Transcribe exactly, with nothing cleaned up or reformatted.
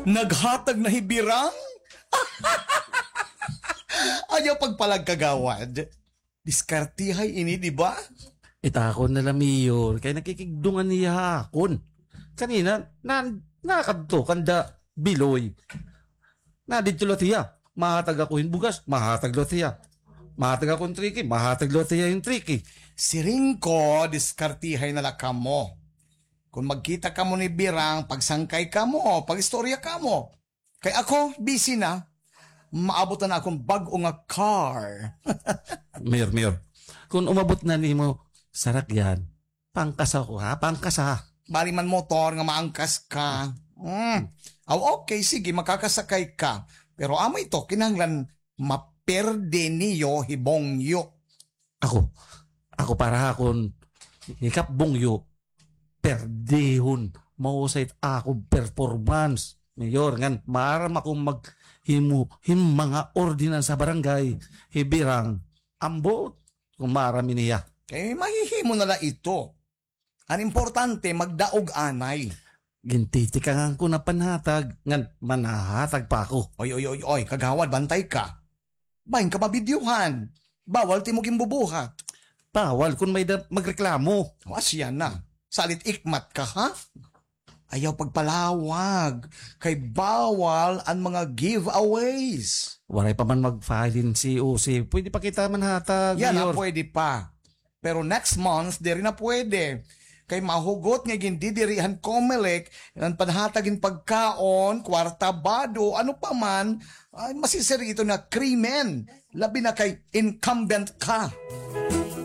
Naghatag na hi Birang? Ayaw pagpalag, kagawad. Diskartihay ini, di ba? It akon na la, Mayor, kay nakikigdungan hiya ha akon. Kanina, na, nakadto kanda Biloy. Nadidto la hiya. Mahatag ako hin bugas, mahatag la hiya. Mahatag ako hin triki, mahatag la hiya hin triki. Siring ko, diskartihay na la kamo. Kon magkita kamo ni Birang, pagsangkay kamo, pag-istorya kamo. Kay ako, busy na. Maabot na akon bag-o nga car. Mayor, Mayor, kon umabot na nimo sarakyan, pangkasa ko, ha? Pangkasa. Bali man motor nga maangkas ka. Hmm. Aw, okay, sige, makakasakay ka. Pero amo ito, kinahanglan maperde niyo hi Bongyo. Ako, ako para ha akon hikap Bongyo, perdehon, mahusay it akon performance. Mayor, ngan maaram ako maghimo hin mga ordinansa barangay, hi Birang, ambot, kon maaram ini hiya. Kay mahihimo na la ito. An importante, magdaog anay. Gintitikangan ko na panhatag, ngan manhahatag pa ako. Oy, oy, oy, oy, kagawad, bantay ka. Bahin ka mabidyuhan. Bawal it imo ginbubuhat. Bawal kon may-ada magreklamo. O, asya na. Salit ikmat ka, ha? Ayaw pagpalawag, kay bawal an mga giveaways. Waray pa man mag-file hin C O C. Pwede pa kita manhatag, Mayor. Yana, pwede pa. Pero next month, diri na pwede. Kay mahugot nga gindidiri han Comelec, an panhatag hin pagkaon, kwarta, bado, ano pa man, ay, masisiring ito nga krimen. Labi na kay incumbent ka.